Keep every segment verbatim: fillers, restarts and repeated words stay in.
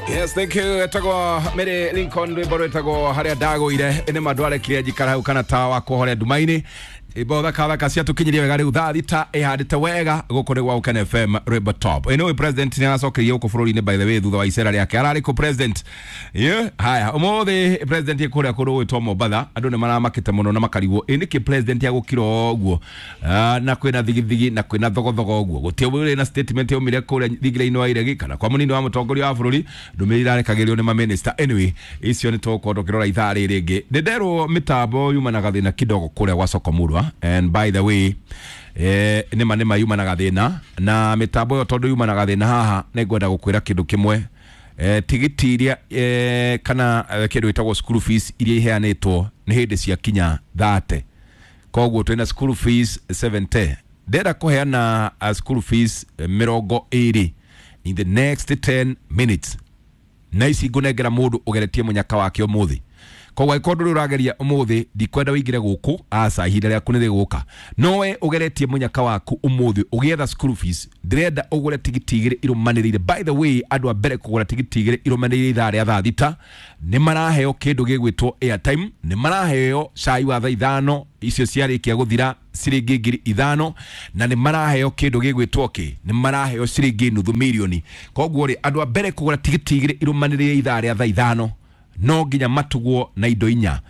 Yes, thank you. Etagwo Mary Lincoln rwimbo rwetagwo haria ndagũire nĩ mandwarekirie njikara hau kana tawa kũhoria nduma-inĩ. Imbo thaka thaka ciatũkinyirie wega rĩu thaa thita ĩhandĩte wega gũkũ nĩ gwa Gũkena F M rwimbo top. Anyway, president nĩ aracokeria gũkũ bũrũri-inĩ by the way thutha wa icera rĩake ararĩ kũ president? Yeah, haya ũmũthĩ president kũrĩa kũndũ gwĩtwo Mombatha andũ nĩ maramakĩte mũno na makarigwo ĩ nĩkĩ president agũkira ũguo na kwĩna thigithigi na kwĩna thogothogo ũguo gũtirĩ ũrĩ na statement yaumire kũrĩa thingira-inĩ wa iregi kana kwa mũnini wa mũtongoria wa bũrũri ndũmĩrĩri irarekagĩrio nĩ maminista. Anyway, icio nĩ tũgũkorwo tũkĩrora ithaa rĩrĩ rĩngĩ. Nĩ nderwo mĩtambo yumanaga thĩna kidogo kũrĩa gwa Sokomurwa. And by the way, eh, nĩma nĩma yumanaga thĩna na mĩtambo ĩyo tondũ yumanaga thĩna haha nĩ ngwenda gũkwĩra kĩndũ kĩmwe eh, tigiti iria eh, kana eh, kĩndũ gĩtagwo school fees iria iheanĩtwo nĩ hĩndĩ ciakinya thate koguo twĩna school fees seventy ndĩrenda kũheana uh, school fees mĩrongo ĩrĩ in the next ten minutes na ici ngũnengera mũndũ ũgeretie mũnyaka wake ũmũthĩ koguo angĩkorwo ndũrĩ ũrageria ũmũthĩ ndikwenda ũingĩre gũkũ aca ihinda rĩaku nĩ rĩgũka no we ũgeretie mũnyaka waku ũmũthĩ ũgĩetha school fees ndĩrenda ũgũre tigiti igĩrĩ irũmanĩrĩire. By the way, andũ a mbere kũgũra tigiti igĩrĩ irũmanĩrĩire ithaa rĩa thaa thita nĩ maraheo kĩndũ gĩgwĩtwo airtime nĩ maraheo cai wa thaa ithano icio ciarĩkia gũthira ciringi ngiri ithano na nĩ maraheo kĩndũ gĩgwĩtwo kĩ nĩ maraheo ciringi nuthu mirioni koguo rĩ andũ a mbere kũgũra tigiti igĩrĩ irũmanĩrĩire ithaa rĩa thaa ithano no nginya matugwo na indo inya.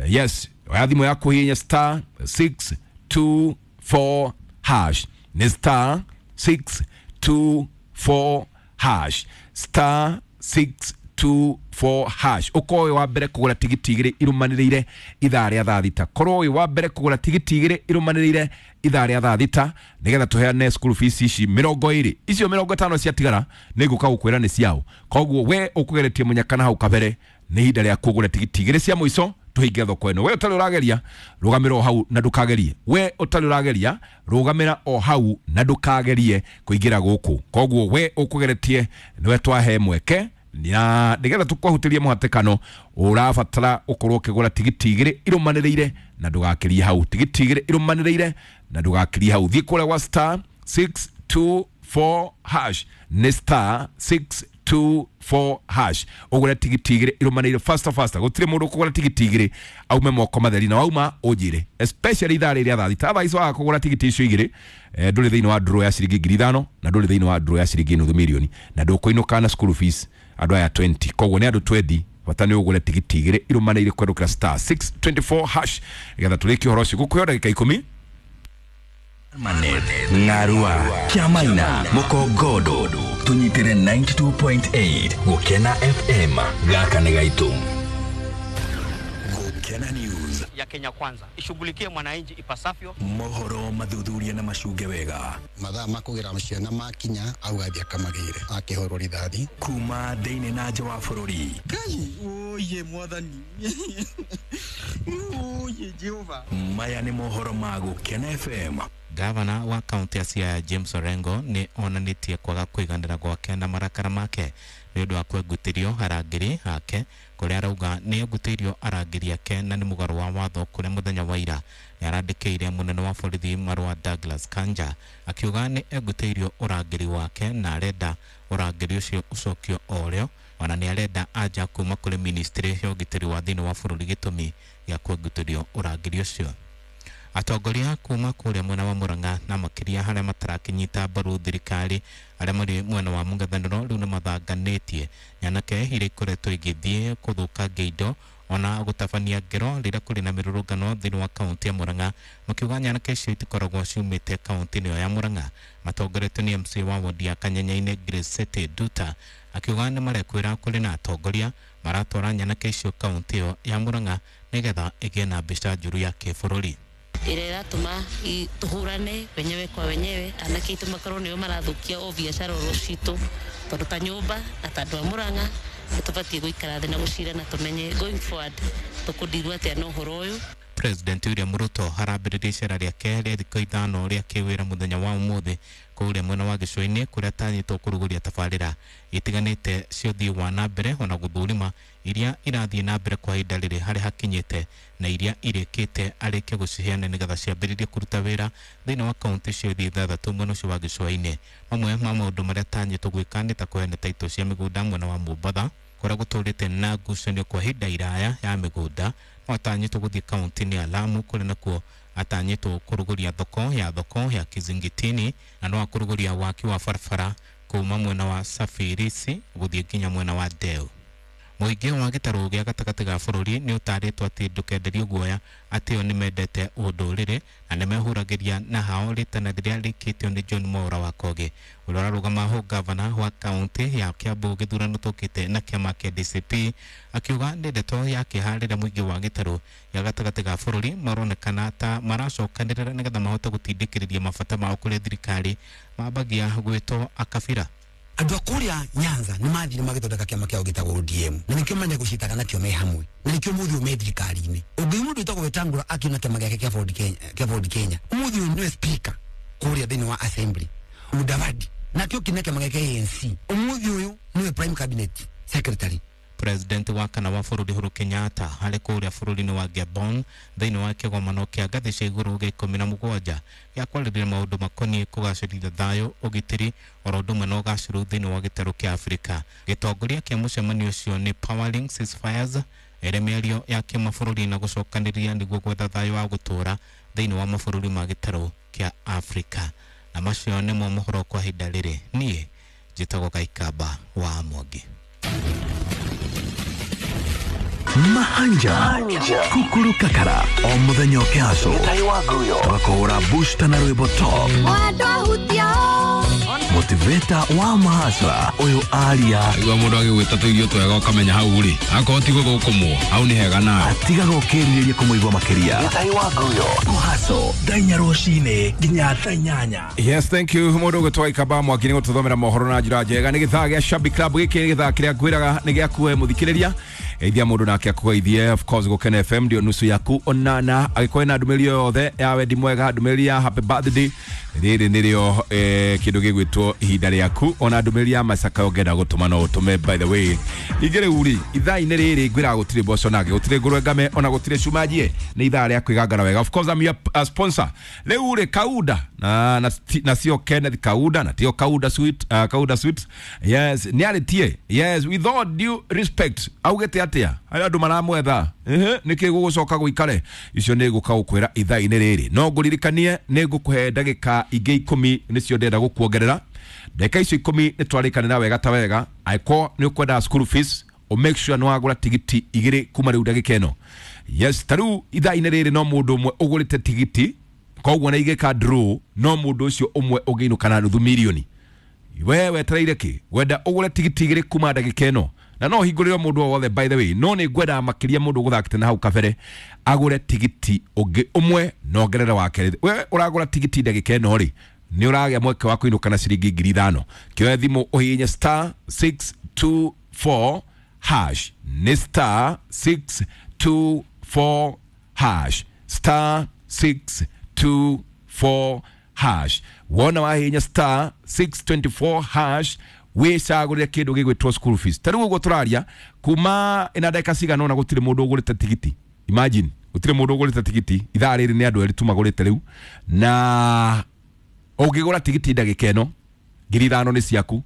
Yes, oya thimũ yaku hihinya star six two four hash nĩ star six two four hash star six two four hash ũkorwo wĩ wa mbere kũgũra tigiti igĩrĩ irũmanĩrĩire ithaa rĩa thaa thita korwo wĩ wa mbere kũgũra tigiti igĩrĩ irũmanĩrĩire ithaa rĩa thaa thita nĩgetha tũheane school fees ici mĩrongo ĩrĩ icio mĩrongo ĩtano ciatigara nĩ ngũka gũkwĩra nĩ ciao koguo we ũkũgeretie mũnyaka na hau kabere nĩ ihinda rĩa kũgũra tigiti igĩrĩ cia mũico tũhinge thoko ĩno we ũtarĩ ũrageria rũgamĩra o hau na ndũkagerie we ũtarĩ ũrageria rũgamĩra o hau na ndũkagerie kũingĩra gũkũ koguo we ũkũgeretie nĩwe twahe mweke na nĩgetha tũkwahutĩrie mũhatĩkano ũrabatara ũkorwo ũkĩgũra tigiti igĩrĩ irũmanĩrĩire na ndũgakĩrie hau tigiti igĩrĩ irũmanĩrĩire na ndũgakĩrie hau thiĩ kũrĩa gwa star six two four hash nĩ star six two four hash ũgũre tigiti igĩrĩ irũmanĩrĩire faster faster gũtirĩ mũndũ ũkũgũra tigiti igĩrĩ aume moko matheri na wauma ũnjĩre especially ithaa rĩrĩa thaa thita thaa ici waga kũgũra tigiti icio igĩrĩ eh, ndũrĩ thĩinĩ wa draw ya ciringi ngiri ithano na ndũrĩ thĩinĩ wa draw ya ciringi nuthu mirioni na ndũkũinũka na school fees andũ aya twenty koguo nĩ andũ twenty bata nĩ ũgũre tigiti igĩrĩ irũmanĩrĩire kwerũkĩra star six twenty four hash nĩgetha tũrĩkie ũhoro ũcio gũkũheo ndagĩka ikũmi. Manet, Ngarua, Kiamaina, Mukogodo, tunyitire ninety two point eight Gukena F M gaka nĩ gaitũ. Gukena News ya Kenya Kwanza ishughulikie mwananchi ipasavyo. Mohoro mathuthuria na macunge wega mathaa makugira ciana makinya au athia kamagire akihorwo rithathi kuma thĩinĩ na nja wa bũrũri. Ngai oye mwathani oye Jehova. Maya nĩ mohoro ma Gukena F M. Gavana wa kaunti ya Siaya James Orengo nĩ onanĩtie kwaga kũiganĩra gwake na marakara make nĩ ũndũ wa kwengutĩrio arangĩri ake kũrĩa arauga nĩ engutĩirio arangĩri ake na nĩ mũgarũ wa watho kũrĩa mũthenya wa ira nĩ arandĩkĩire mũnene wa borithi marũa Douglas Kanja akiuga nĩ engutĩirio ũrangĩri wake na arenda ũrangĩri ũcio ũcokio o rĩo ona nĩ arenda anja kuma kũrĩ ministry ya ũgitĩri wa thĩinĩ wa bũrũri gĩtũmi gĩa kwengutĩrio ũrangĩri ũcio. Atongoria kuma kũrĩa mwena wa Murang'a na makĩria harĩa matarakinyita mbaru thirikari arĩa marĩ mwena wa mũng'ethanĩro rĩu nĩ mathanganĩtie nyanake iria ikoretwo igĩthiĩ kũthũkangia indo ona gũtabania ngero rĩrĩa kũrĩ na mĩrũrũngano thĩinĩ wa kaunti ya Murang'a makiuga nyanake icio itikoragwo ciumĩte kaunti-inĩ ĩyo ya Murang'a matongoretio nĩ M C wa wodi ya Kanyenyainĩ Grace Duta akiuga nĩ marekwĩra kũrĩ na atongoria maratwara nyanake icio kaunti ĩyo ya Murang'a nĩgetha ĩgĩe na mbica njũru ya kĩbũrũri ĩrĩa ĩratũma tũhũrane wenyewe kwa wenyewe anake aitũ makorwo nĩo marathukia o biacara oro citũ tondũ ta nyũmba na ta andũ a Murang'a nĩtũbatiĩ gũikara thĩ na gũcira na tũmenye going forward tũkũndirwo atĩa na ũhoro ũyũ. President William Ruto arambĩrĩria icera rĩake rĩa thikũ ithano rĩa kĩwĩra mũthenya wa ũmũthĩ kũrĩa mwena wa gĩcũa-inĩ kũrĩa atanyĩtwo kũrugũria tabarĩra itiganĩte cia ũthii wa na mbere ona gũthũrima iria irathiĩ na mbere kwa ihinda rĩrĩ harĩa hakinyĩte na iria irĩkĩte arĩkie gũciheana nĩgetha ciambĩrĩrie kũruta wĩra thĩinĩ wa kaunti ciothe ithathatũ mwena ũcio wa gĩcũa-inĩ. Mamwe ma maũndũ marĩa atanyĩtwo gwĩka nĩ ta kũheana taitũ cia mĩgũnda mwena wa Mombatha kũrĩa gũtũrĩte na ngucanio kwa ihinda iraya ya mĩgũnda. No atanyĩtwo gũthiĩ kaunti-inĩ ya Lamu kũrĩa nakuo atanyĩtwo kũrugũria thoko ya thoko ya Kizingitini na no akũrugũria waki wa barabara kuma mwena wa Safirisi gũthiĩ nginya mwena wa Deu. Mũingĩ wa gĩtarũ gĩa gatagatĩ ga bũrũri nĩ ũtarĩtwo atĩ ndũkenderio guoya atĩ o nĩmendete ũndũrĩrĩ na nĩmehũragĩria na hao rĩtana rĩrĩa rĩkĩtio nĩ John Mwaura wa Kogi ũrĩa ũrarũgama ho gavana wa kaunti ya Kiambu gĩthurano tũkĩte na kĩama kĩa D C P akiuga nĩ ndeto ya kĩeha rĩrĩa mũingĩ wa gĩtarũ gĩa gatagatĩ ga bũrũri maronekana ta maracokanĩrĩra nĩgetha mahote gũtindĩkĩrĩria mabata mao kũrĩ thirikari mambagia gwĩtwo akabira. Andũ a kũrĩa Nyanza nĩ mathire magĩthondeka kĩama kĩao gĩtagwo O D M na nĩkĩo manya gũcitaga nakĩo me hamwe na nĩkĩo mũthĩ ũyũ me thirikari-inĩ. Ũngĩ mũndũ wĩtagwo Wetangula akiona kĩama gĩake kĩa Ford Kenya, kĩa Ford Kenya ũmũthĩ ũyũ nĩwe speaker kũrĩa thĩinĩ wa assembly. Mudavadi nakĩo kĩna kĩama gĩake A N C ũmũthĩ ũyũ nĩwe prime cabinet secretary. President wa kana wa bũrũri Uhuru Kenyatta harĩ kũrĩa bũrũri-inĩ wa Gabon thĩinĩ wa kĩgomano kĩa ngathĩ cia igũrũ gĩa ikũmi na mũgwanja gĩa kwarĩrĩria maũndũ makoniĩ kũgacĩrithia thayũ, ũgitĩri oro ũndũ ũmwe na ũgacĩru thĩinĩ wa gĩtarũ kĩa Afrika. Gĩtongoria kĩa mũcemanio ũcio nĩ Powering Ceasefires ĩrĩa mĩario ya kĩmabũrũri na gũcokanĩrĩria nĩguo gwetha thayũ wa gũtũũra thĩinĩ wa mabũrũri ma gĩtarũ kĩa Afrika. Na macio nĩmo mohoro kwa ihinda rĩrĩ. Niĩ njĩtagwo Kaikamba wa Mwangi. Mahanja Kukuru Kakara o muthenya ũkĩhaco tũgakũhũra booster na rwĩmbo top motivator wa mahasra ũyũ aria igua mũndũ agĩgwĩta tũirio twega ũkamenya hau rĩ akorwo ti gũthũkũmwo hau nĩ hega nawe atigaga ũkĩrirĩria kũmũigua makĩria kũhaco thaa inya rũcinĩ nginya thaa inyanya. Yes, thank you mũndũ ũgwĩtwo Kaikamba Mwangi nĩ gũtũthomera mohoro na njĩra njega. Nĩ gĩthaa gĩa Shabby Club gĩkĩ nĩ gĩthaa kĩrĩa ngwĩraga nĩ gĩaku mũthikĩrĩria ithia mũndũ nake akũgeithie. Of course Gũkena F M ndio nusu yaku onana agĩkorwo na ndũmĩrĩri o yothe ya wendi mwega, ndũmĩrĩri ya happy birthday rĩrĩ nĩrĩo kĩndũ gĩgwĩtwo ihinda rĩaku, ona ndũmĩrĩri ya macaka ũngĩenda gũtũma no ũtũme. By the way ingĩ rĩu rĩ ithaa-inĩ rĩrĩ ngwĩraga gũtirĩ mboco nake, gũtirĩ ngũrwe ngame, ona gũtirĩ cumanjie, nĩ ithaa rĩa kwĩgangara wega. Of course I'm your uh, sponsor rĩu rĩ Kauda na na, na sio Kenneth Kauda na tio Kauda sweet, uh, Kauda sweet yes nĩ arĩtie yes with all due respect augĩte atĩa arĩa andũ maramwetha ehe nĩkĩ gũgũcoka gũikare icio nĩ gũka gũkwĩra ithaa-inĩ rĩrĩ. No ngũririkanie nĩ ngũkũhe ndagĩka ingĩ ikũmi nĩcio ndĩrenda gũkuongerera. Ndagĩka icio ikũmi nĩ twarĩkanĩra wega ta wega. Angĩkorwo nĩ ũkwenda school fees o make sure nĩ wagũra tigiti igĩrĩ kuma rĩu ndagĩka ĩno. Yes, ta rĩu ithaa-inĩ rĩrĩ no mũndũ ũmwe ũgũrĩte tigiti koguo na igĩka draw no mũndũ ũcio ũmwe ũngĩinũka na nuthu mirioni. We wetereire kĩ wenda ũgũre tigiti igĩrĩ kuma ndagĩka ĩno na no hingũrĩre mũndũ o wothe by the way no nĩ ngwenda makĩria mũndũ ũgũthakĩte na hau kabere agũre tigiti ũngĩ ũmwe na ongerere wa kerĩ. We ũragũra tigiti ndagĩka ĩno rĩ nĩ ũragĩa mweke wa kũinũka na ciringi ngiri ithano. Kĩoya thimũ ũhihinye star six two four hash nĩ star six two four hash star six two four hash. Wona wahihinya star six two four hash wĩcagũrĩre kĩndũ gĩgwĩtwo school fees. Ta rĩu ũguo tũraria kuma ĩna ndagĩka cigana ũna gũtirĩ mũndũ ũgũrĩte tigiti. Imagine gũtirĩ mũndũ ũgũrĩte tigiti ithaa rĩrĩ nĩ andũ erĩ tu magũrĩte rĩu na ũngĩgũra tigiti ndagĩka ĩno ngiri ithano nĩ ciaku,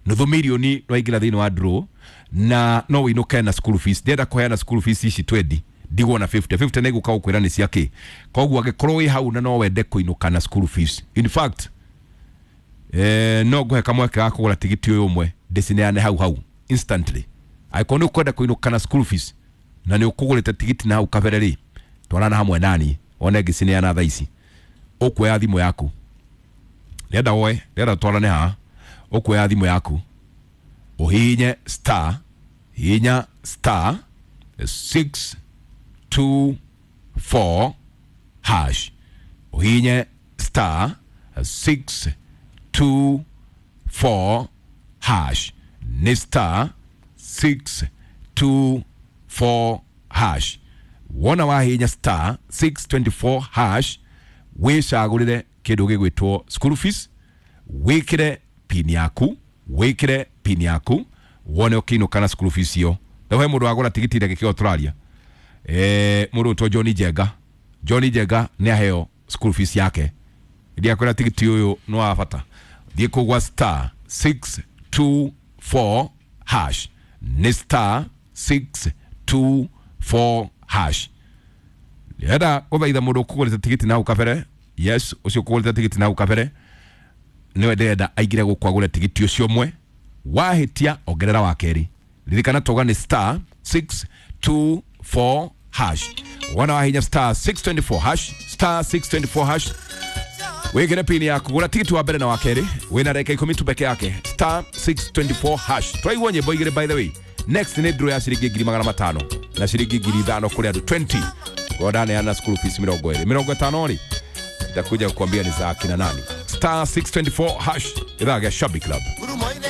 nuthu mirioni waingĩra thĩinĩ wa draw na no wĩinũke na school fees. Ndĩrenda kũheana school fees ici twendi ndigwo na fifty fifty nĩ gũka gũkwĩra nĩ cia kĩ. Koguo angĩkorwo wĩ hau na no wende kũinũka na school fees, in fact eh no ngũhe kamweke ga kũgũra tigiti ũyũ ũmwe ndĩcineane hau hau instantly. Angĩkorwo nĩ ũkwenda kũinũka na school fees na nĩ ũkũgũrĩte tigiti na hau kabere rĩ twarana hamwe nani one ngĩcineana thaa ici. Ũkuoya thimũ yaku ndĩrenda woe ndĩrenda twarane haha. Ũkuoya thimũ yaku ũhihinye star hihinya star six two four hash ũhihinye star six two four hash nĩ star six two four hash. Wona wahihinya star six two four hash wĩcagũrĩre kĩndũ gĩgwĩtwo school fees. Wĩkĩre pin yaku, wĩkĩre pin yaku wone ũkĩinũka na school fees ĩyo. Na he mũndũ wagũra tigiti ndagĩka ĩyo tũraria, eh mũndũ ũtwo John Njenga. John Njenga nĩ aheo school fees yake. Ndiakwĩra tigiti ũyũ nĩ wa bata. Thiĩ kũu gwa star six two four hash, nĩ star six two four hash. Ndĩrenda gũthaitha mũndũ ũkũgũrĩte tigiti na hau kabere. Yes, ũcio ũkũgũrĩte tigiti na hau kabere nĩwe ndĩrenda aingĩre gũkũ agũre tigiti ũcio ũmwe. Wahĩtia ongerera wa kerĩ. Ririkana tauga nĩ star six two four hash. Wona wahinya star six twenty four hash, star six twenty four hash, wĩkĩre pini yaku, gũra tigiti wa mbere na wa kerĩ. Wĩna ndagĩka ikũmi tu peke yake. Star six twenty four hash. Twaigua nyĩmbo igĩrĩ by the way. Next nĩ draw ya ciringi ngiri magana matano na ciringi ngiri ithano kũrĩ andũ twenty. Ngodaneana school fees mĩrongo ĩrĩ mĩrongo ĩtano rĩ nitakuja kukwambia ni za akina nani. Star six twenty four hash, ithaa gĩa Shabby Club.